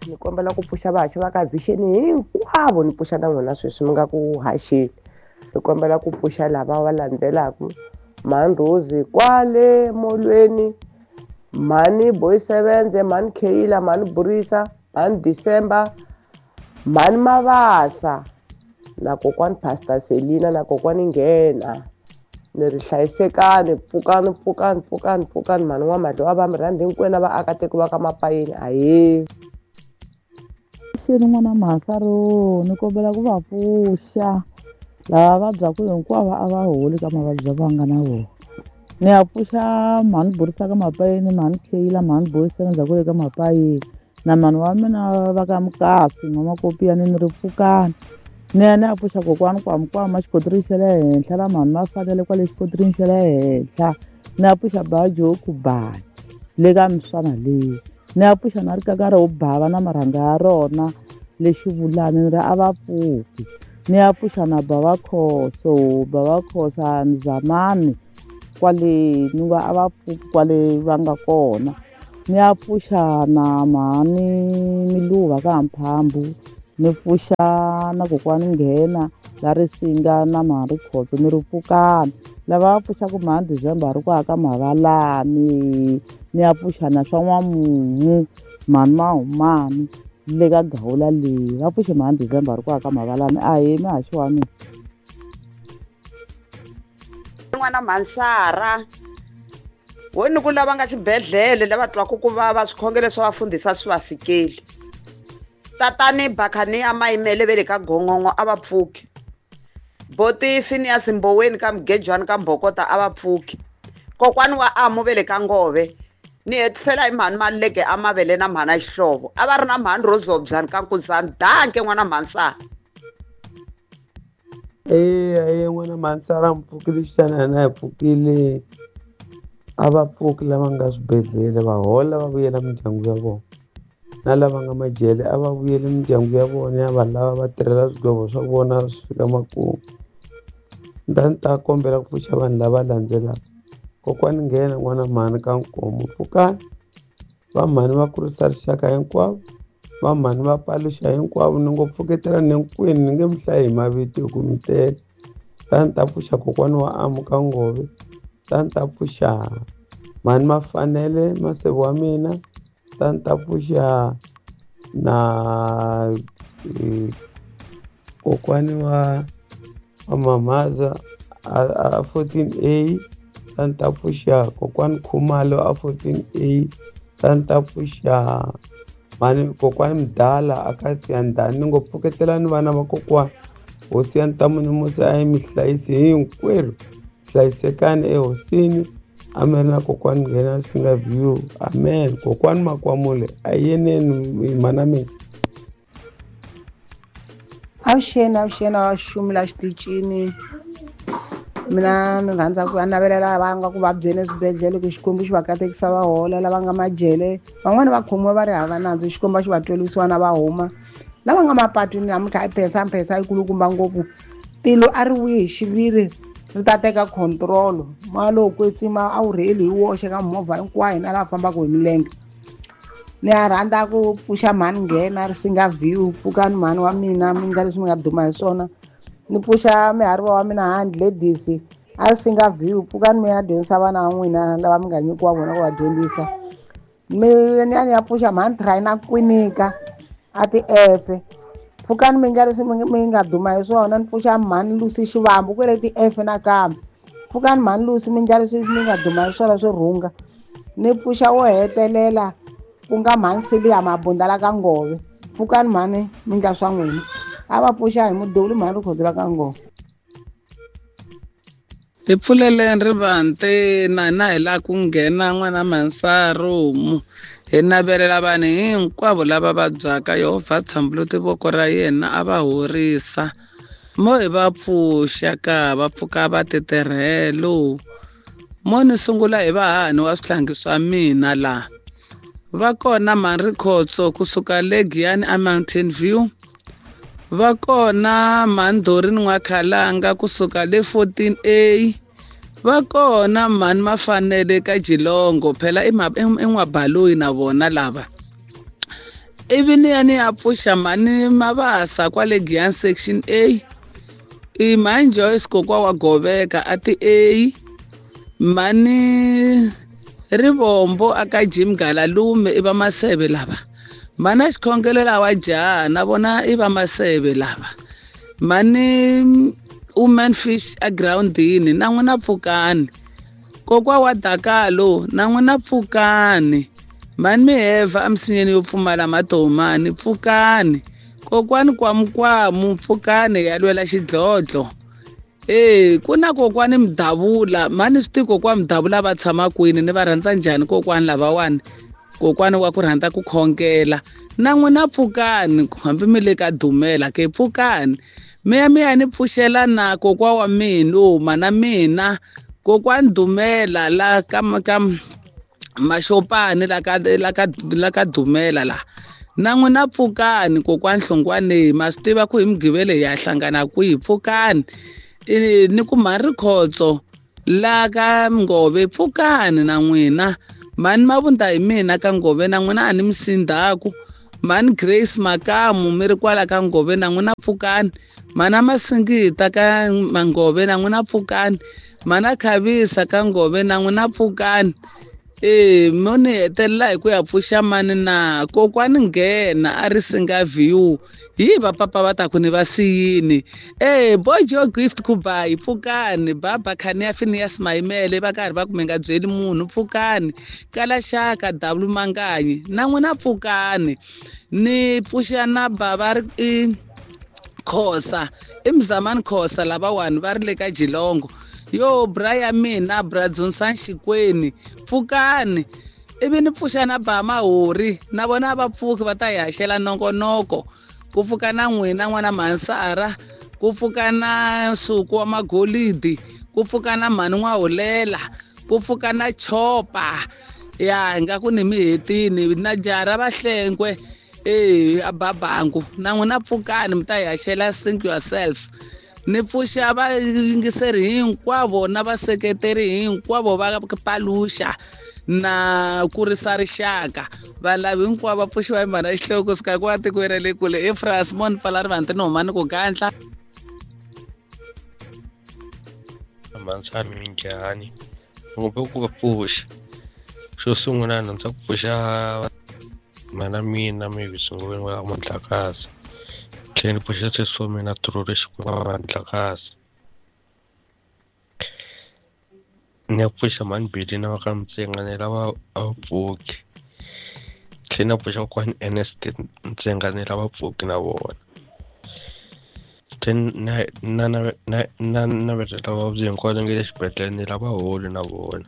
Ni kombela ku pfuxa vahaxi va ka Vision hinkwavo, ni pfuxa na n'wina sweswi mi nga ku haxeni. Ni kombela ku pfuxa lava va landzelaka: Mhani Rose kwale molweni, mhani Boysevenze, mhani Kheila, mhani Burisa, mhani December, mhani Mavasa na kokwani Pastor Selina na kokwani Nghena. Ni ri hlayisekani, pfukani, pfukani, pfukani, pfukani. Mhani N'wamadlo va mi rhandza hinkwenu na vaakatiko va ka Mapayeni. Ahee. Xeni n'wana mhasaro, ni kombela ku va pfuxa lava vabyaka hinkwavo, a va holi ka mavabyi va nga na wona. Ni ya pfuxa mhani Burisa ka Mapayeni, mhani Kheila, mhani Boysevenza kwale ka Mapayeni na mhani wa mina va ka Mukasi N'wamakopiyani, ni ri pfukani. Ni ya ni ya pfuxa kokwani Kwamkwama xikotirini xa le henhla na mhani Mafanele kwale xikotirini xa le henhla. Ni ya pfuxa Bajoku Bani le ka miswana leyi. Ni ya pfuxa na rikaka ro bava na marhanga ya rona lexivulani, ni ri a va pfuki. Ni ya pfuxa na Bava Khoso, Bava Khosa Mzamani kwale, ni va a va pfuki kwale va nga kona. Ni ya pfuxa na mhani Miluva ka Mphambu, ni pfuxa na kokwani Nghena la Risinga na mhani Rikhotso, ni ri pfukani. Lava va pfuxaka mhani December ri ku aka Mavalani, ni ya pfuxa na swa N'wamumu, mhani Mahumani le ka Gawula leyi, va pfuxe mhani December ri ku aka Mavalani. Ahee, muhaxi wa mina. N'wana Mhansara wo ni ku lava nga xibedhlele lava twaka ku vava, swikhongelo swa vafundhisi a swi va fikeli. Tatani Bakhani a Mayimele ve le ka Gongongo a va pfuki. Boti Phineas Mboweni ka Mugejwani ka Mbhokota a va pfuki. Kokwani wa Amu ve le ka Ngove. Ni hetisela hi mhani Maluleke a Mavele na mhani Xihlovo. A va ri na mhani Rozobyani ka Nkuzani. Danke n'wana Mhansara. Eya, eya n'wana Mhansara, mi pfukile xana? Na hi pfukile. A va pfuki lava nga swibedhlele, va hola va vuyela mindyangu ya vona. Na lava nga majele a va vuyeli mindyangu ya vona, ya vanhu lava va tirhela swigwevo swa vona swi fika makumu. Ni ta kombela ku pfuxa vanhu lava landzelaka: kokwani Nghena n'wana mhani ka Nkomo, pfukani. Va mhani va kurisa rixaka hinkwavo, va mhani va paluxa hinkwavo. Ni ngo pfuketela ni hinkwenu, ni nge mi hlayi hi mavito hi ku mi tele. Ni ta pfuxa kokwani wa Amu ka Ngove, ni ta pfuxa mhani Mafanele Maseve wa mina, ni ta pfuxa na kokwani wa Mamaza a 14A, ni ta pfuxa kokwani Khumalo a 14A, ni ta pfuxa mhani kokwani Mdala a ka Siyandhani. Ni ngo pfuketelani vana va kokwani, hosi ya Ntamu ni Musa a yi mi hlayisi hinkwerhu. Hlayisekani ehosini. Amen. Na kokwani Nghena Singa View, amen. Kokwani Makwamule a yeneni mhana mina. Avuxeni, avuxeni, a xumula xitichini. Mina ni rhandza ku navelela lava nga ku vabyeni eswibedhlele ku Xikwembu xi va katekisa va hola. Lava nga majele, van'wani va khomiwa va ri hava nandzu, Xikwembu xi va twela vusiwana va huma. Lava nga mapatwini namuntlha i phensa mphensa yi kulukumba ngopfu, tilo a ri vuyi hi xiviri ri ta teka control. Moya lowo kwetsima a wu rheli hi woxe ka mimovha hinkwayo na laha fambaka hi milenge. Ni ya rhandza ku pfuxa mhani Nghena Risinga View, pfukani mhani wa mina, mi nga leswi mi nga duma hi swona. Ni pfuxa mihariva wa mina hand ladies a Risinga View, pfukani mi ya dyondzisa vana va n'wina lava mi nga nyikiwa vona ku va dyondzisa. Mi ni ya ni ya pfuxa mhani Traina Kwinika a ti-F, pfukani mi nga leswi mi nga duma hi swona. Ni pfuxa mhani Lucy Xivambu kwele ti-F nakambe, pfukani mhani Lucy, mi nga leswi mi nga duma hi swona swo rhunga. Ni pfuxa wo hetelela ku nga mhani Silia Mabunda la ka Ngove, pfukani mhani, mi nga swa n'wina. A va pfuxa hi muduli mhani Rikhotso la ka Ngove. Hi pfuleleni rivanti na hina hi lava ku nghena n'wana Mhansarumu. Hi navelela vanhu hinkwavo lava vabyaka, Yehovha tshambuluti voko ra yena a va horisa. Mo hi va pfuxa ka va pfuka va titirhelo. Mo ni sungula hi vahahani wa swihlangi swa mina laha. Va kona mhani Rikhotso kusuka le Giyani a Mountain View. Va kona mhani Dorini N'wakhalanga kusuka le 14A. Va kona mhani Mafanele ka Jilongo, phela i N'wabaloyi na vona lava. Ivi ni ya ni ya pfuxa mhani Mabasa kwale Giyani section A. I mhani Joyce kokwa wa Goveka a ti A. Mhani Rivombo aka Jim Galalume i va Maseve lava. Mhani Xikhongelo lawa jaha na vona i va Maseve lava. Mhani Woman Fish a groundini na n'wina pfukani. Kokwa wa Dakalo na n'wina pfukani. Mhani Miheva emisinyeni yo pfumala matomani pfukani. Kokwani Kwamukwamu pfukani ya lwela xidlodlo. Ku na kokwani Mdavula, mhani swi tivi kokwani Mdavula va tshama kwini, ni va rhandza njhani kokwani lavawani. Kokwani wa ku rhandza ku khongela. Na n'wina pfukani, hambi mi le ka Dumela ke pfukani. Mi ya mi ya ni pfuxela na kokwa wa mina, mana mina kokwani Dumela la ka Maxopani la ka Dumela la. Na n'wina pfukani kokwani Hlongwane, ma swi tiva ku hi Mugqivela hi ya hlangana kwihi, pfukani. Ni ku mhani Rikhotso la ka Ngove pfukani na n'wina. Mhani Mavunda hi mina ka Ngove na n'wina a ni mi sindhaku. Mhani Grace Makamu mi ri kwala ka Ngove na n'wina pfukani. Mhana Masingita ka Ngove na n'wina pfukani. Mhana Khavisa ka Ngove na n'wina pfukani. Mo ni hetelela hi ku ya pfuxa mani na kokwani Nghena a ri singa view. Hi va papa va ta ku ni va siyini. Bojo Gift Kubai pfukani. Baba Khania Phineas Maimele va karhi va ku mi nga byeli munhu pfukani. Kalaxaka W Manganyi na n'wina pfukani. Ni pfuxa na bava ri Khosa, i Mzamani Khosa lavawani va ri le ka Jilongo. Yo bra ya mina bra Dzunsan Xikweni pfukani. Ivi ni pfuxa na ba Mahori na vona va pfuki va ta hi haxela nongonoko. Ku pfuka na n'wina n'wana Mansara, ku pfuka na Nsuku wa Magolidi, ku pfuka na mhani N'wahulela, ku pfuka na Chopa. Ya nga ku ni mi hetini na jara Vahlengwe a Babangu na n'wina pfukani mi ta hi haxela think yourself. Ni pfuxa vayingiseri hinkwavo na vaseketeri hinkwavo va Paluxa na kurisa rixaka. Valavi hinkwavo va pfuxiwa hi mhana Xihloko kusuka kwa tikweni ra le kule eFrance Mon Pfala Rivanti ni huma ni ku gandla. Mansani minjhani ngopfu ku va pfuxa. Xo sungula ni rhandza ku pfuxa mana mina Mavis Ngoveni wa Mandlakazi. Tlhela ni pfuxa sesi wa mina Truri Xikwembu Mandlakazi. Ni ya pfuxa mhani Billy na va ka Mtsenga ni lava a va pfuki. Tlhela ni pfuxa kokwani Ernest Mtsenga ni lava pfuki na vona. Tlhela na navelela vavabyi hinkwavo nga le xibedhlele ni lava holi na vona.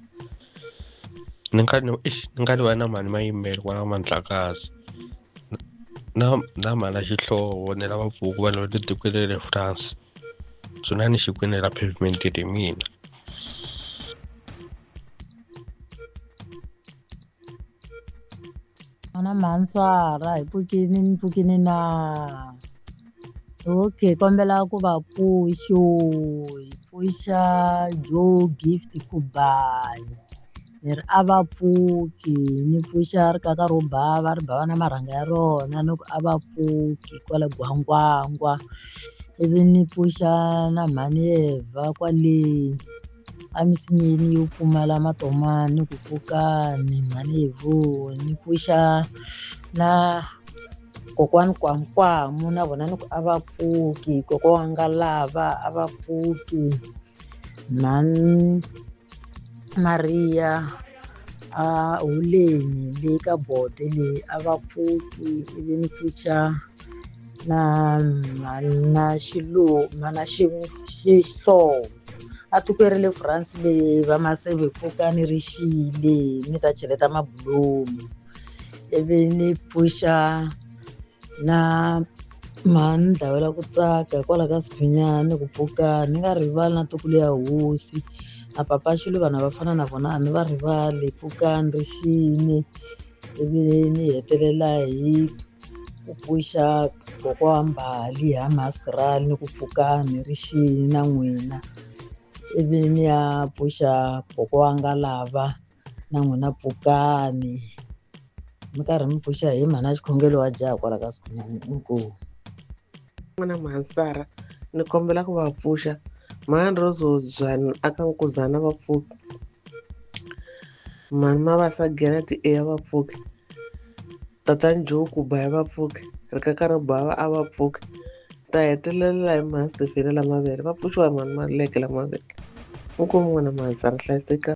Ni nga rivali na mhani Mayimele kwala Mandlakazi. Na mhana Xihlovo ni lava pfuki vanhu va le tikweni ra le France. Dzunani Xikwini la pavement hi mina. N'wana Mansara hi pfukini mi pfukini na. Okay, kombela ku va pfuxo hi pfuxa Joe Gift Kubai. Ni ri a va pfuki ni pfuxa rikaka ro bava ri bava na marhanga ya rona ni ku a va pfuki kwale Gwangwangwa. Ivi ni pfuxa na mhani Eva kwale emisinyeni yo pfumala matomani ku pfukani mhani Evo. Ni pfuxa na kokwani Kwamukwamu na vona ni ku a va pfuki. Kokwa wa Ngalava a va pfuki. Mhani Maria a Huleni le ka Bode le a va pfuki. Ivi ni pfuxa na mhana Xilo mhana Xihlovo a tikweni ra le France le va Maseve pfukani ri xile mi ta cheleta mabulomu. Ivi ni pfuxa na mhani Dlawela ku tsaka hikwalaho ka Sikhunyani ku pfukani. Ni nga rivali na ntukulu ya hosi na papa Xiluva vanhu va fana na vona a ni va rivali pfukani ri xile. Ivi ni hetelela hi ku pfuxa kokwa wa Mbali ha Masirali ni ku pfukani ri xile na n'wina. Ivi ni ya pfuxa kokwa wa Ngalava na n'wina pfukani. Mi karhi mi pfuxa hi mhana xikhongelo wa jaha kwala ka Sikhunyani. Inkomu. N'wana Mhansara, ni kombela ku va pfuxa. Mhani Rose Hobyani aka Nkuzana va pfuki. Mhani Mavasa Gena ti A va pfuki. Tatani Joe Kuba va pfuki. Rikaka ro bava a va pfuki. Ta hetelela hi mhani Stefeni la mavele. Va pfuxiwa hi mhani Maluleke la mavele. Inkomu n'wana Mhansara, hlayiseka.